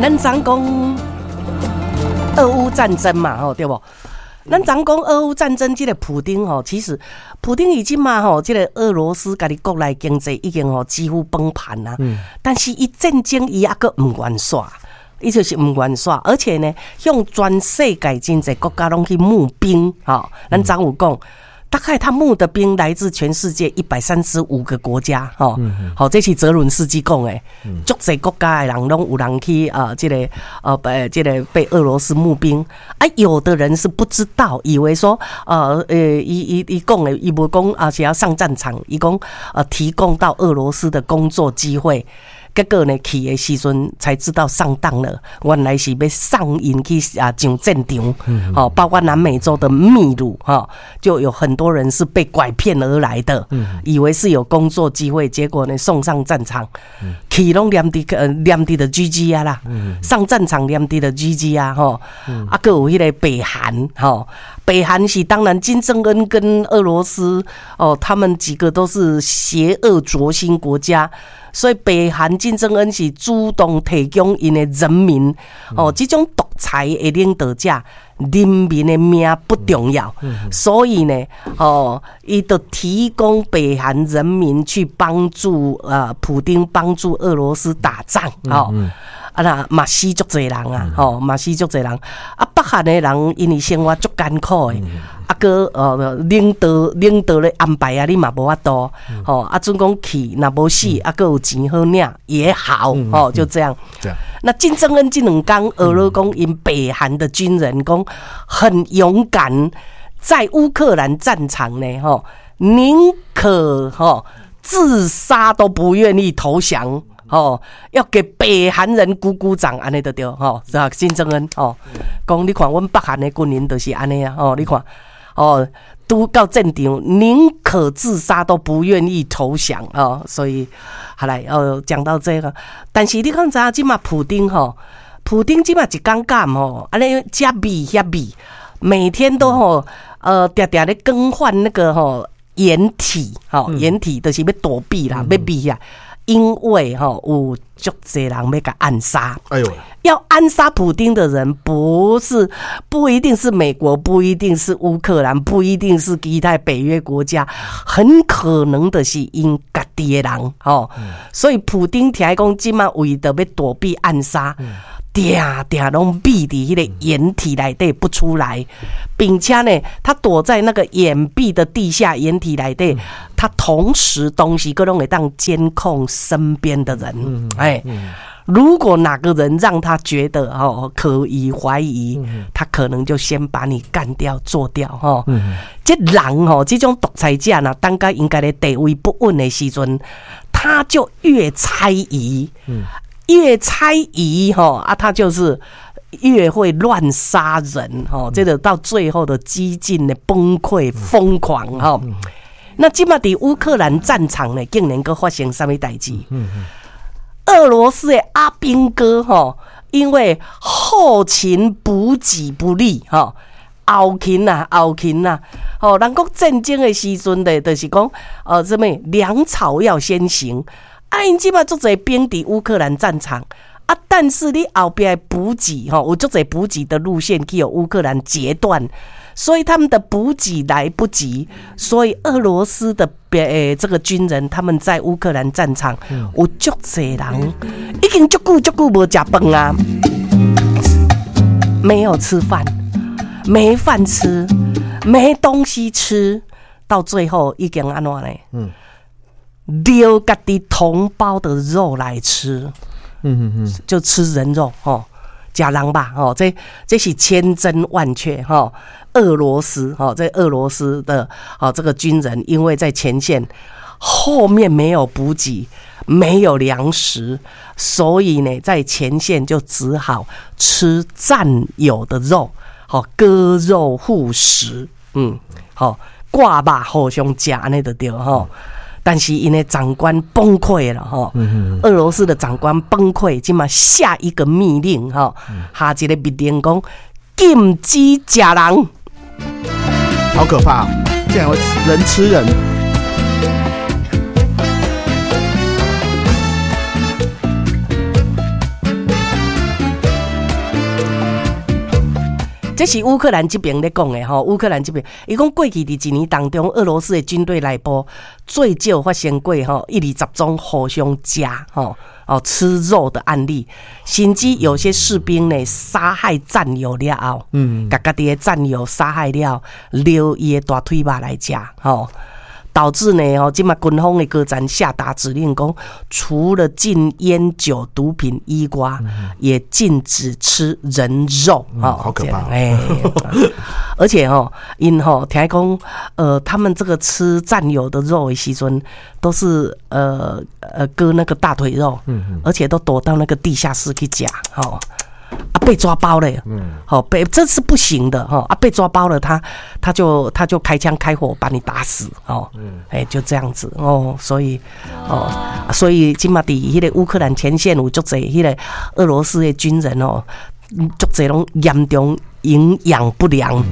咱昨講俄烏戰爭嘛，吼，對無？咱昨講俄烏戰爭，這個普丁吼，其實普丁伊這馬吼，這個俄羅斯家己國內經濟已經吼幾乎崩盤啦。但是伊戰爭伊猶閣毋願煞，伊就是毋願煞，而且呢，向全世界真濟國家攏去募兵，吼，咱昨有講。大概他募的兵來自全世界135個國家，吼，好，這是澤倫斯基講的，足濟國家的人攏有人去啊，這個被這個被俄羅斯募兵啊，有的人是不知道，以為說，伊伊伊講的，伊無講啊是要上戰場，伊講提供到俄羅斯的工作機會。結果呢，去的時陣才知道上當了，原來是欲送𪜶去啊上戰場，吼，包括南美洲的秘魯，哈，就有很多人是被拐騙而來的，以為是有工作機會，結果呢送上戰場，去攏連佇連佇就 GG 啊啦，上戰場連佇就 GG 啊，吼，啊，閣有彼个北韓，吼，北韓是當然金正恩跟俄羅斯哦，他們幾個都是邪惡軸心國家。所以北韓金正恩是主動提供𪜶的人民哦，這種獨裁的領導者，人民的命不重要，所以呢，哦，伊就提供北韓人民去幫助普丁幫助俄羅斯打仗，哦，啊啦嘛死足濟人啊，吼嘛死足濟人，啊北韓的人因為生活足艱苦的。啊，閣領導咧安排啊，你嘛無法度，吼啊，準講去，若無死，啊，閣有錢好領也好，吼，就這樣。那金正恩這兩工，俄羅講𪜶北韓的軍人講很勇敢，在烏克蘭戰場呢，吼，寧可吼自殺都不願意投降，吼，要給北韓人鼓鼓掌，按呢就對，吼，是吧？金正恩，吼，講你看，阮北韓的軍人就是按呢啊，吼，你看。哦，拄到戰場，寧可自殺都不願意投降哦。所以，好來哦，講到這個，但是你看知影這馬普丁吼，普丁這馬一工敢吼，按呢遮秘遐秘，每天都吼，定定咧更換那個吼掩體，吼掩體，就是欲躲避啦，欲避啊，因為吼有足濟人欲共暗殺。哎呦！要暗殺普丁的人，不是不一定是美國，不一定是烏克蘭，不一定是其他北約國家，很可能的是𪜶家己的人吼。所以普丁聽講，這馬為著欲躲避暗殺，定定攏秘佇彼个掩體內底不出來，並且呢，他躲在那個掩蔽的地下掩體內底，他同時東西閣攏會當監控身邊的人，哎。如果哪個人讓他覺得哦可以懷疑，他可能就先把你幹掉做掉吼。這人吼，這種獨裁者呢，當佮𪜶家己地位不穩的時陣，他就越猜疑，越猜疑吼啊，他就是越會亂殺人吼，這個到最後的激進的崩潰瘋狂吼。那這馬佇烏克蘭戰場呢，竟然閣發生啥物代誌？俄羅斯的阿兵哥吼，因為後勤補給不力吼，後勤啊，後勤啊，吼，人講戰爭的時陣咧，就是講，啥物糧草要先行，啊，𪜶這馬足濟兵佇烏克蘭戰場，啊，但是你後壁的補給吼，有足濟補給的路線去予烏克蘭截斷，所以他們的補給來不及，所以俄羅斯的這個軍人他們在烏克蘭戰場有足濟人已經足久足久無食飯啊，沒有吃飯，沒飯吃，沒東西吃，到最後已經按怎呢？掠家己同胞的肉來吃，就吃人肉吼，食人肉吼，這是千真萬確吼。俄羅斯吼，這俄羅斯的哦這個軍人，因為在前線後面沒有補給，沒有糧食，所以呢，在前線就只好吃戰友的肉，好割肉互食，好割肉互相食按呢就對吼。但是𪜶的長官崩潰了吼，俄羅斯的長官崩潰，這馬下一個密令吼，下一個密令講禁止食人，好可怕，竟然會人吃人。這是烏克蘭這邊咧講的吼，烏克蘭這邊，伊講過去佇一年當中，俄羅斯的軍隊內部最少發生過吼120宗互相食吼哦吃肉的案例，甚至有些士兵呢殺害戰友了後，共家己的戰友殺害了，留伊的大腿肉來食吼。導致呢，吼，這馬軍方的高層下達指令，講除了禁菸酒、毒品以外，也禁止吃人肉。哦，好可怕！哎，而且吼，𪜶吼聽講，他們這個吃戰友的肉的時陣，都是割那個大腿肉，而且都躲到那個地下室去食，吼。啊，被抓包了，好被這是不行的哈！啊，被抓包了，他就開槍開火把你打死哦，哎，就這樣子哦，所以哦，所以這馬佇彼個烏克蘭前線有足濟彼個俄羅斯的軍人哦，足濟攏嚴重營養不良。